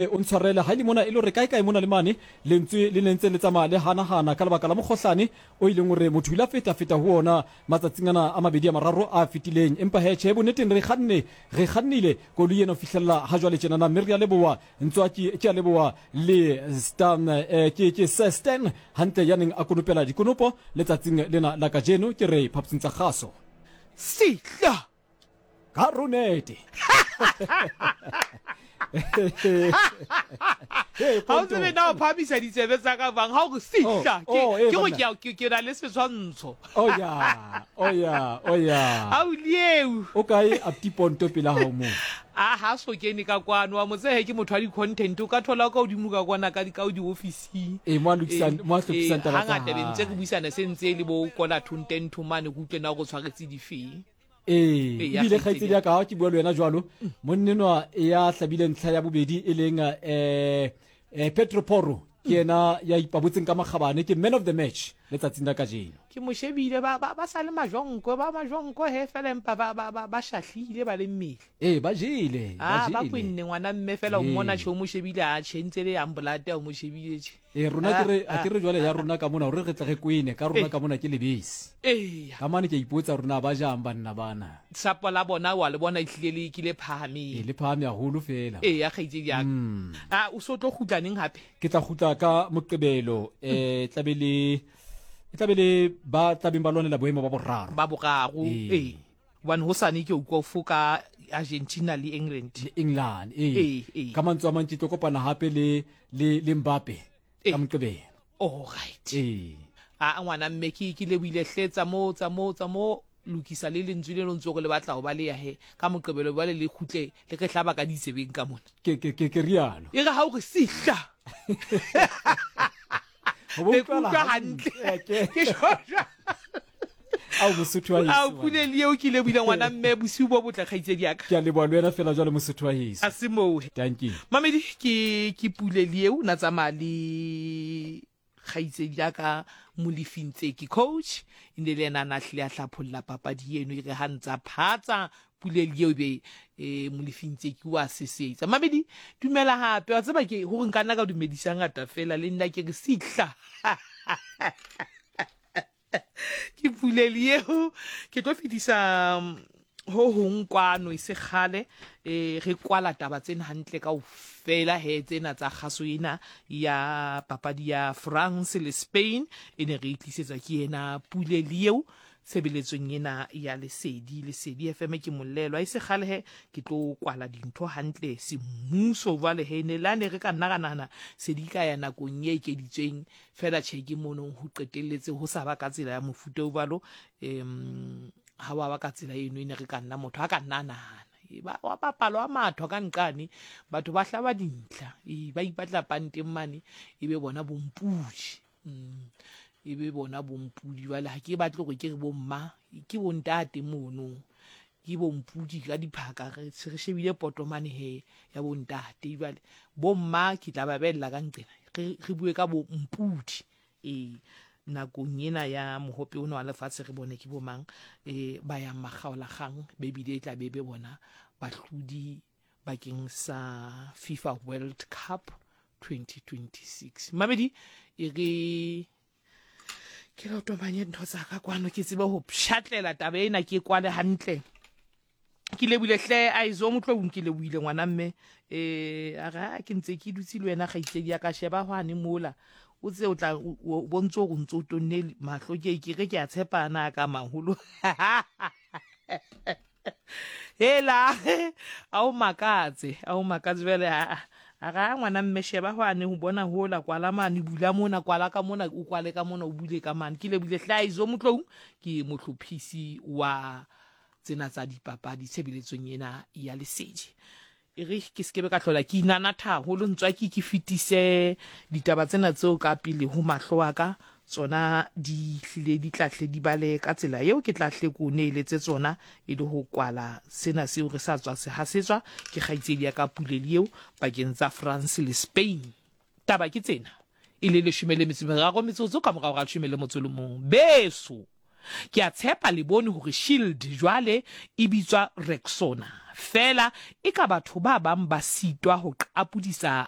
O ntshwarele ha e le mona e le hore kae kae mona le mane lentswe le ne ntse le tsamaya le hanahana ka lebaka la mokgohlane o ileng hore motho o ile a feta-feta ho ona matsatsing ana a mabedi a mararo a fetileng. Empa he, tjhe, bonneteng re kganne, re kgannile koloi ena ho fihlella ha jwale tjenana, mme re a leboha, Ntswaki, ke a leboha le Stan, eh, ke, ke Sir Stan hantle ya neng a konopela dikonopo letsatsing lena la kajeno, ke re phapusing tsa kgaso. Sehla! Ka ronete. Ga o tsebe na o phamisa ditsebe tsa ka bang ga o re sihla Oh, oh, eh, ke gore banna. ke ke na le setshwantsho. Oh ya, oh ya, oh ya. A o lieu. O kae Apti Ponto pela hao moo? A ha so kene ka kwano wa motsehe ke motho wa di-content o ka thola ka godimo ka kwana ka ka di-officing. Ee, mo a lokisang, mo a hlophisang taba tsa Hangata be ntse re hae. buisana se ntse e le bo kola thontentho mane ke utlwe na go tshwaretse difeng. Ee, Ee, ya ebile kgaitsedi kgaitsedi ya ka ha ke bua le wena jwalo, monnenwa ya hlabile ntlha ya bobedi e leng eh, eh, Pedro Porro ke yena ya ipabotseng ka makgabane ke man of the match letsatsing la kajeno. Ke mo shebile ba ba ba sa le majonko ba majonko he fela empa ba ba ba ba shahlile ba le mmele. Ee, ba jele, ba Ah ba jele. kwenne ngwana mme fela o mmona Ee. tjhe o mo shebile a tjhe ntse le yang bolate o mo shebile tjhe. Ee, rona ke re, a ke re jwale ya rona ka mona hore re tle re kwene, ka rona ka mona ke lebese. Eya. Ka mane ke a ipotsa hore na ba jang banna bana. Sapo la bona wa le bona ehlile le ke le phahameng. Ee, le phahame haholo feela. Eya, kgaitsedi ya ka. A o so tlo kgutla neng hape? Ke tla kgutla ka Moqebelo. Eh, tla be le e tla be le ba tlabeng ba lwanela boemo ba boraro. Ba boraro. Ee. Hobane hosane ke utlwa o foka Argentina le England. Le England, ee. Ee, ee. Ka mantswe a mang ke tlo kopana hape le le le Mbappe Ee. ka Moqebelo. All right. Ee. A ngwana mme ke ke lebohile hle tsa mo tsa mo tsa mo lokisa le lentswe le lo ntse go le batla ho ba le ya he ka Moqebelo jwale le kgutle le re hlaba ka ditsebeng ka mona. Ke ke ke ke rialo. E re ha o re sihla. Ho bo Be utlwala utlwa hantle. hantle. Ke shosha. Ao Mosotho wa A heso. pule le eo ke lebohile ngwana mme bosiu bo botle kgaitsedi ya ka. Ke a leboha le wena fela jwale Mosotho wa heso. A se moo. Dankie. Mamedi ke ke pule le eo na tsamaya le kgaitsedi ya ka Molefi Ntseki coach e ne le yena a na hlile a hlapholla papadi eno e re ha ntsa phatsa Pule le eo be e Molefi Ntseki wa sesetsa. Mamedi dumela hape wa tseba ke hore nka nna ka dumedisa ngata fela le nna ke re sihla. Ke puleli eo ke tlo fetisa ho hong kwano e se kgale eh re kwala taba tsena hantle ka ofela he tsena tsa kgaso ena ya papadi ya France le Spain e ne re e tlisetswa ke ena puleli eo tshebeletsong ena ya Lesedi Lesedi FM ke molelwa e se kgale he ke tlo kwala dintho hantle semmuso jwale he ne la ne re ka nna ra nahana se di ka ya nakong e ekeditsweng Fela tjhe ke mono ho qetelletse ho sa ba ka tsela ya mofuta o jwalo, um ha wa ba ka tsela eno e ne re ka nna motho a ka nna a nahana. E ba wa bapalo wa matho ka nqane, batho ba hlaba dintlha, e ba ipatla panteng mane, e be bona bompudi. E be bona bompudi. Jwale ha ke batle hore ke re bomma, ke bontate mono. Ke bompudi ka diphaka, re se re shebile poto mane he ya bontate. Jwale bomma ke tla ba beella ka nqena, re re bue ka bompudi. Ee, nakong ena ya mohope ona wa lefatshe re bone ke bomang e ba yang makgaolakgang, be bile e tla be be bona bahlodi bakeng sa FIFA World Cup 2026. Mamedi e re ke lo tomanye ntho tsa ka kwano ke tsebe ho pshatlela taba ena ke kwale hantle ke lebile hle a izo motlong ke lebohile ngwana mme eh a re a ke ntse ke dutse le wena kgaitsedi ya ka sheba hwane mola o tse o tla o bontse o ntse o tonne mahlo ke ke re ke a tshepana ka maholo Hela, a o makatse, a o makatse jwale a a ra ngwana mme sheba hwane ho bona hola kwala mane bula mona kwala ka mona o kwale ka mona o bule ka mane ke lebile hlaizo motlou ke mohlophisi wa tsena tsa dipapadi tshebeletsong ena ya lesedi E re ke se ke be ka hlola ke inanatha haholo, ntswaki ke fetise ditaba tsena tseo ka pele ho mahlo a ka, tsona di hlile di tla hle di bale ka tsela eo ke tla hle ke o neeletse tsona e le ho kwala sena seo re sa tswa se hasetswa ke kgaitsedi ya ka Puleli eo pakeng tsa France le Spain. Taba ke tsena, e le leshome le metso e meraro metsotso ka morao ga leshome le motso le mong. Beso! Ke a tshepa le bone hore Shield jwale e bitswa Rexona. Feela eka batho ba bang ba sitwa ho qapodisa.